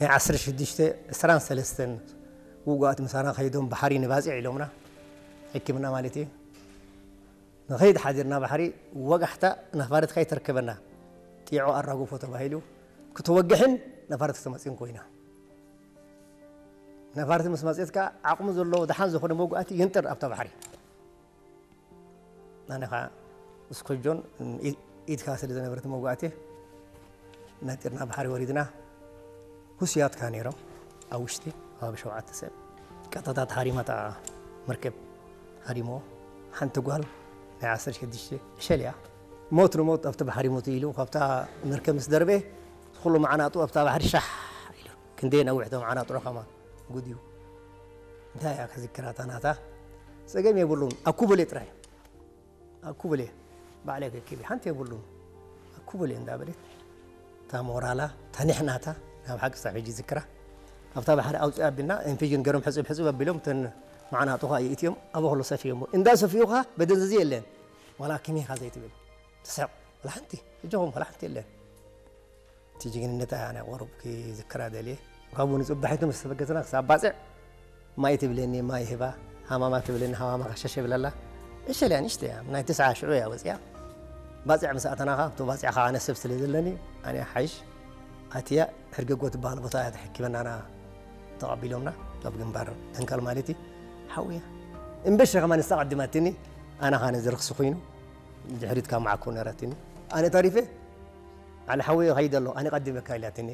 ናይ ዓሰርተ ሽዱሽተ ዕስራን ሰለስተን ውጉኣት ምሳና ከይዶም ባሕሪ ንባፅዕ ኢሎምና፣ ሕክምና ማለት እዩ። ንኸይድ ሓዲርና ባሕሪ ወጋሕታ ነፋሪት ከይተርከበና ጢዖ ኣራግፎ ተባሂሉ ክትወግሕን ነፋሪት ክትመፅእን ኮይና። ነፋሪት ምስ መፅእት ከዓ ዓቕሙ ዘለዎ ደሓን ዝኾነ መጉኣቲ ይንጥር ኣብታ ባሕሪ። ኣነ ከዓ እስኮጆን ኢድካ ስለ ዝነበረት መጉኣቲ ነጢርና ባሕሪ ወሪድና። ሁስያትካ ነይሮም ኣብ ውሽጢ ኣብ ሸውዓተ ሰብ ቀጥታ ተሃሪማታ መርከብ ሃሪሞ። ሓንቲ ጓል ናይ ዓሰርተ ሽዱሽተ ዕሸል እያ። ሞት ንሞት ኣብቲ ባሕሪ ሞት ኢሉ ካብታ መርከብ ምስ ደርበ ኩሉ መዓናጡ ኣብታ ባሕሪ ሻሕ ኢሉ። ክንደይ ነዊሕ ቶም መዓናጡ ከማ ጉድ እዩ። እንታይ እያ ከዝክራታ ናታ? ጸገም የብሉን። ኣኩበሌ ጥራይ። ኣኩበሌ ባዕለይ ከኪቢ ሓንቲ የብሉን። ኣኩበሌ እንዳበለት እታ ሞራላ ተኒሕናታ ናብ ሓቂ ሳብ ሕጂ ዝክራ። ኣብታ ባሕሪ ኣውፅእ ኣቢልና ኢንፊዥን ገሮም ሕፅብ ሕፅብ ኣቢሎም እተን መዓናጡ ኸዓ ይእትዮም ኣብ ኹሉ ሰፊዮሞ። እንዳ ሰፊዩ ኸዓ በደንዝዚ የለን። ዋላ ክሜኻ ዘይትብል ትስሕቕ። ዋላ ሓንቲ ሕጆኹም ዋላ ሓንቲ የለን። እቲ ጅግንነት ኣነ ቁሩብ ክዝክራ ደልየ። ካብኡ ንጽባሒቱ ምስ ተበገስና ክሳብ ባጽዕ ማይ ትብለኒ፣ ማይ ህባ፣ ሃማማ ትብለኒ፣ ሃማማ ከሸሸ ይብለላ። እሸል እያ፣ ንእሽተይ እያ፣ ናይ ትስዓ ሽዑ እያ ወጽያ። ባጽዕ ምስ ኣተናኻ፣ ኣብቲ ባጽዕ ኸዓ ኣነ ሰብ ስለ ዘለኒ፣ ኣነ ሓይሽ ኣትያ ሕርገጎ ትበሃል ቦታ እያ ተሐኪመናና ተቐቢሎምና፣ ኣብ ግንባር ደንካል ማለት እዩ። ሓውያ እምበሸ ከማን ንሳ ቀዲማትኒ፣ ኣነ ኸዓ ነዚ ርኽሲ ኮይኑ፣ ድሕሪት ካብ መዓኮ ነረትኒ። ኣነ ተሪፈ፣ ዓሊ ሓወይ ይኸይድ ኣሎ፣ ኣነ ቀዲመካ ኢላትኒ።